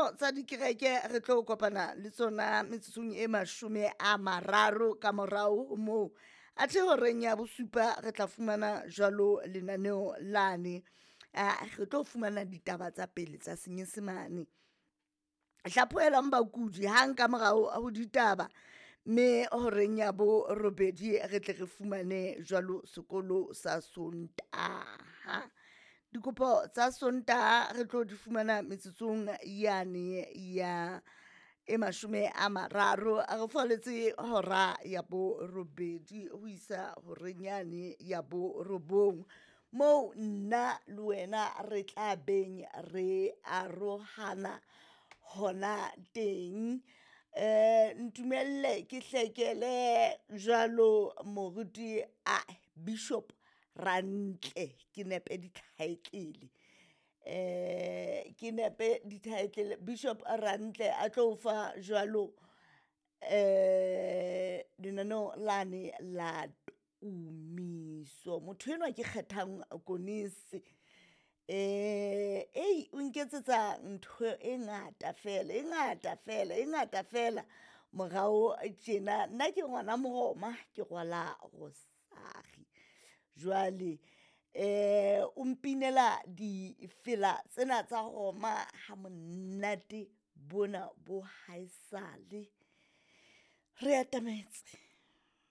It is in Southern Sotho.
Ditsebiso tsa dikereke re tlo kopana le tsona metsotsong e 30 ka morao ho moo. Athe horeng ya bosupa re tla fumana jwalo lenaneo lane. Re tlo fumana ditaba tsa pele tsa Senyesemane. Hlaphohelwang bakudi hang ka morao ho ditaba, mme horeng ya borobedi re tle re fumane jwalo sekolo sa Sontaha. Dikopo tsa Sontaha re tlo di fumana metsotsong yane ya e 30 re falletse hora ya borobedi ho isa horeng yane ya borobong, moo nna le wena re tla beng re arohana hona teng. Ntumelle ke hlekele jwalo moruti a Bishop Rantle ke nepe di-title. Ke nepe di-title Bishop Rantle a tlo fa jwalo lenaneo lane la tumiso. Motho enwa ke Kgethang Konese ei o nketsetsa ntho e ngata fela e ngata fela e ngata fela morao tjena. Nna ke ngwana Moroma, ke rwala rosari. Jwale o mpinela difela tsena tsa Roma ha monate bona bo haesale. Re atametse.